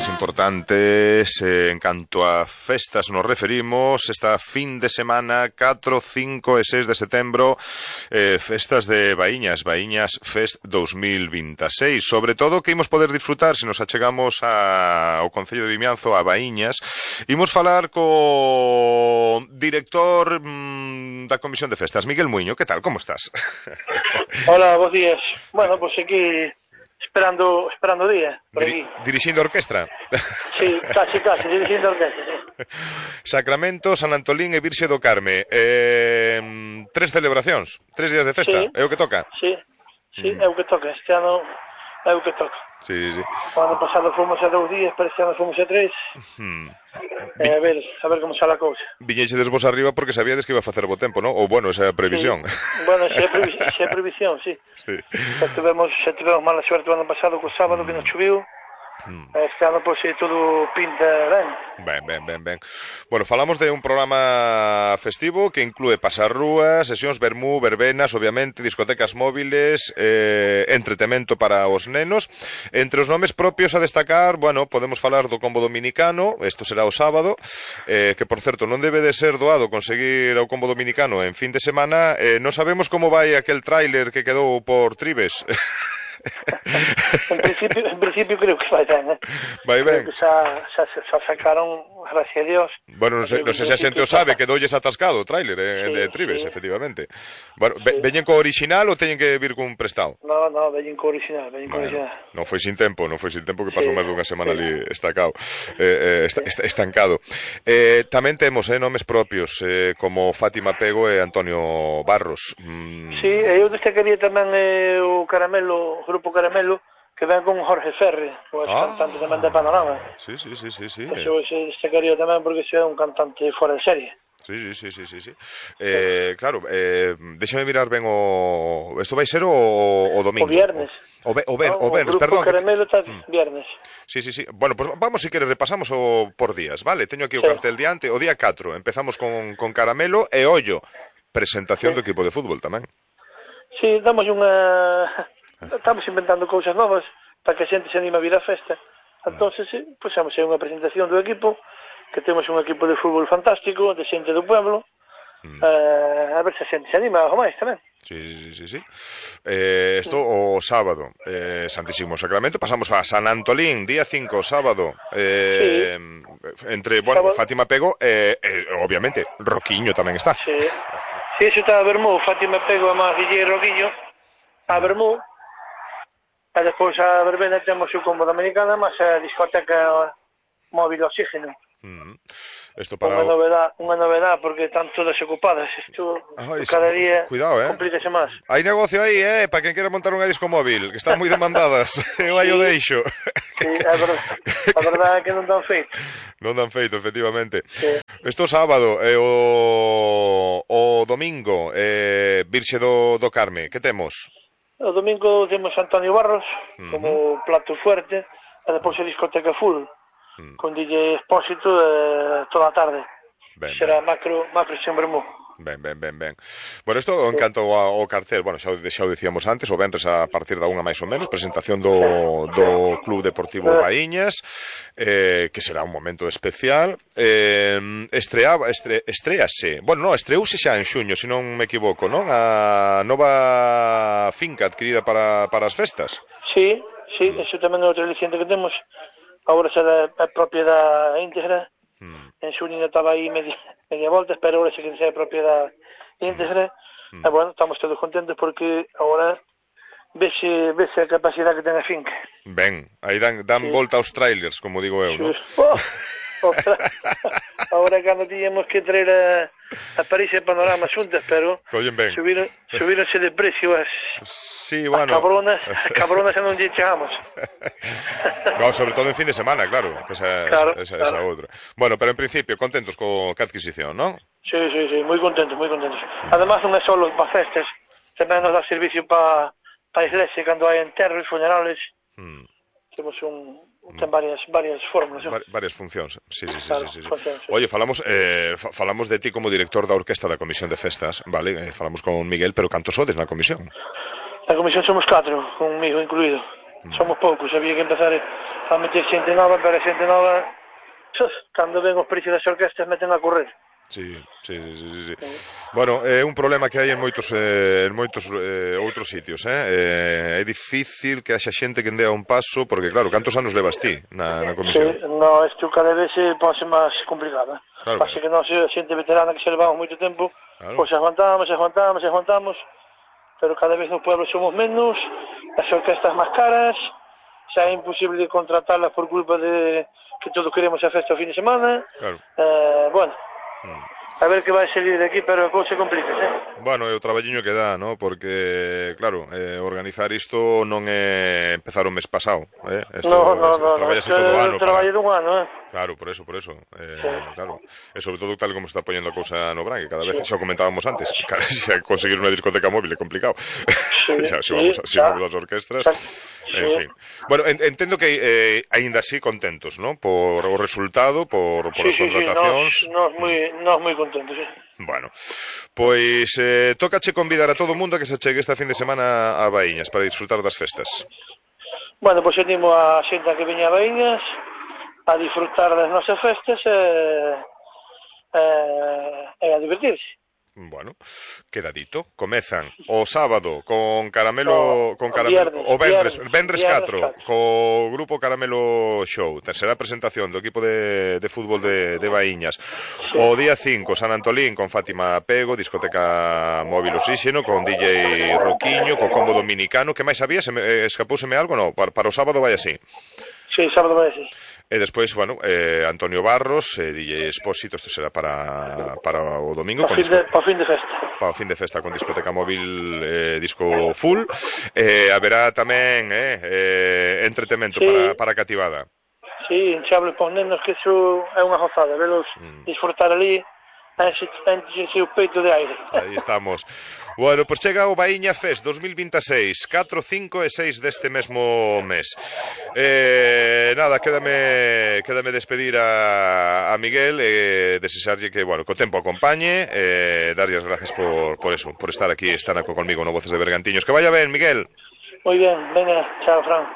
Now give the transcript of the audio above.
importantes en canto a festas nos referimos. Esta fin de semana 4, 5 e 6 de setembro, festas de Baíñas Fest 2026. Sobre todo que imos poder disfrutar se nos achegamos ao Concello de Vimianzo, a Baíñas. Imos falar co director da Comisión de Festas, Miguel Muiño. Que tal, como estás? Hola, bons días. Bueno, pues aquí esperando o día, por aquí. Dirixindo a orquestra? Sí, casi, dirixindo a orquestra, sí. Sacramento, San Antolín e Virxe do Carme. 3 celebracións, 3 días de festa, sí. É o que toca? Sí, é o que toca, este ano é o que toca. Sí. O ano pasado fomos a 2 días, pero este ano fomos a 3. A ver como sale a cousa. Viñechedes vos arriba porque sabíades que iba a facer bo tempo, non? Ou, bueno, esa é a previsión. Sí. Bueno, esa é a previsión, sí. Xa tivemos mala suerte o ano pasado co sábado que nos choviu. Este ano, pois, todo pinta ben. Ben. Bueno, falamos de un programa festivo que inclúe pasar rúas, sesións vermú, verbenas, obviamente, discotecas móviles, entretemento para os nenos. Entre os nomes propios a destacar, bueno, podemos falar do combo dominicano, isto será o sábado, que, por certo, non debe de ser doado conseguir o combo dominicano en fin de semana. Non sabemos como vai aquel tráiler que quedou por Tribes. En principio creo que vai ben, Vai ben. Creo que xa sacaron, gracias a Dios. Bueno, non sei se a xente o sabe, quedoulles atascado o tráiler de Tribes, sí. Efectivamente. Bueno, sí. Veñen co original ou teñen que vir cun prestado? No, veñen co original, Non foi sin tempo que pasou máis dunha semana ali estancado, estancado. Tamén temos nomes propios, como Fátima Pego e Antonio Barros. Sí, eu destacaría tamén o Grupo Caramelo, que ven con Jorge Ferri, o cantante tamén de Panorama. Sí. Eu destacaría tamén porque é un cantante fora de serie. Sí. Claro, déxame mirar ben o... Isto vai ser o domingo? O viernes. O viernes, perdón. O Grupo Caramelo está viernes. Sí. Bueno, pues vamos, si queres, repasamos por días, vale? Teño aquí o cartel diante. O día 4 empezamos con Caramelo e ollo, presentación do equipo de fútbol tamén. Sí, estamos inventando cousas novas para que a xente se anime a vir á festa. Entonces, puxamos aí unha presentación do equipo, que temos un equipo de fútbol fantástico, de xente do pueblo, a ver se a xente se anima algo máis tamén. Sí. Isto o sábado, Santísimo Sacramento. Pasamos a San Antolín, día 5, sábado, entre, bueno, sábado. Fátima Pego obviamente, Roquiño tamén está. Sí, eso está a Bermú, Fátima Pego, a máis DJ Roquiño, a Bermú. E despois a verbena temos o combo dominicana, mas a discoteca móvil oxígeno. Isto para unha novedade porque están todas ocupadas. Isto cada día complícase máis. Hai negocio aí, para quen quera montar unha disco móvil, que están moi demandadas. Eu aí o deixo. Sí, a verdade é que non dan feito. Non dan feito, efectivamente. Sí. Isto sábado e o domingo, Virxe do Carme, que temos? O domingo temos Antonio Barros como plato fuerte, e depois a discoteca full, con DJ Expósito toda a tarde. Será macro sen Bermú. Ben. Bueno, isto en canto ao cartel, bueno, xa o dicíamos antes, o venres a partir da 1 máis ou menos, presentación do Club Deportivo Baíñas, que será un momento especial. Estrease, bueno, estreouse xa en xuño, se non me equivoco, non? A nova finca adquirida para as festas. Sí, eso tamén é outra aliciente que temos. Agora será a propiedade íntegra. En xuño estaba aí media volta, pero agora se que sea propiedade íntegra. E, bueno, estamos todos contentos porque agora vese a capacidade que ten a finca. Ben, aí dan volta aos trailers, como digo eu, non? Agora cando tiñamos que traer a París e Panorama xuntas, pero subíronse de precio as cabronas e non lle chegamos. No, sobre todo en fin de semana, claro. Esa outra. Bueno, pero en principio, contentos co adquisición, non? Sí, moi contentos. Además, non é só para festas, tamén nos dá servicio para a iglesia, cando hai enterros, funerales. Temos ten varias fórmulas. Varias funcións, sí. Oye, falamos de ti como director da orquesta da Comisión de Festas, vale? Falamos con Miguel, pero cantos sodes na comisión? Na comisión somos 4, conmigo incluído. Somos poucos, había que empezar a meter xente nova, pero a xente nova, cando ven os precios das orquestas, meten a correr. Sí. Bueno, é un problema que hai en moitos outros sitios, é difícil que haxa xente que dea un paso, porque claro, cantos anos levas ti na comisión? Sí, no, isto cada vez se pode máis complicada. Claro. Así que nós, xente veterana que se levamos moito tempo, claro. Pois aguantamos, pero cada vez nos pueblos somos menos, as orquestas máis caras, xa é imposible contratarlas por culpa de que todos queremos a festa o fin de semana. Claro. Bueno, a ver que vai salir de aquí, pero a cousa complica, Bueno, é o traballiño que dá, ¿no? Porque, claro, organizar isto non é empezar o mes pasado, No, traballase todo o ano. Traballo dun ano, Claro, por eso. Claro. E sobre todo tal como está poñendo a cousa no Bran, que cada vez, xa o comentábamos antes, xa conseguir unha discoteca móvil é complicado. Xa, se vamos as orquestras. En fin. Bueno, entendo que aínda así contentos, ¿no? Por o resultado, por as contratacións. Nós moi contentos, Bueno, pois tócache convidar a todo o mundo a que se chegue esta fin de semana a Baíñas para disfrutar das festas. Bueno, pois animo a xente a que veña a Baíñas a disfrutar das nosas festas e a divertirse. Bueno, queda dito. Comezan o sábado con Caramelo, o Venres 4 co grupo Caramelo Show. Terceira presentación do equipo de fútbol de Baíñas. O día 5 San Antolín con Fátima Pego, discoteca móvil Oxígeno con DJ Roquiño, co combo dominicano. Que máis había? Escapouseme algo? No, para o sábado vai así. Sí, sábado vai así. E despois, bueno, Antonio Barros, DJ Expósito, isto será para o domingo. Para o fin de festa. Para o fin de festa con discoteca móvil, disco full. Haberá tamén entretemento para a cativada. Sí, hinchables para os nenos, que iso é unha gozada, velos disfrutar ali, enche o peito de aire. Aí estamos. Bueno, pois chega o Baíña Fest 2026, 4, 5 e 6 deste mesmo mes. Nada, quédame despedir a Miguel e desexarlle que, bueno, co tempo acompañe, darlle as gracias por eso, por estar aquí, estar conmigo no Voces de Bergantiños. Que vaya ben, Miguel. Moi ben, venga, chao, Fran.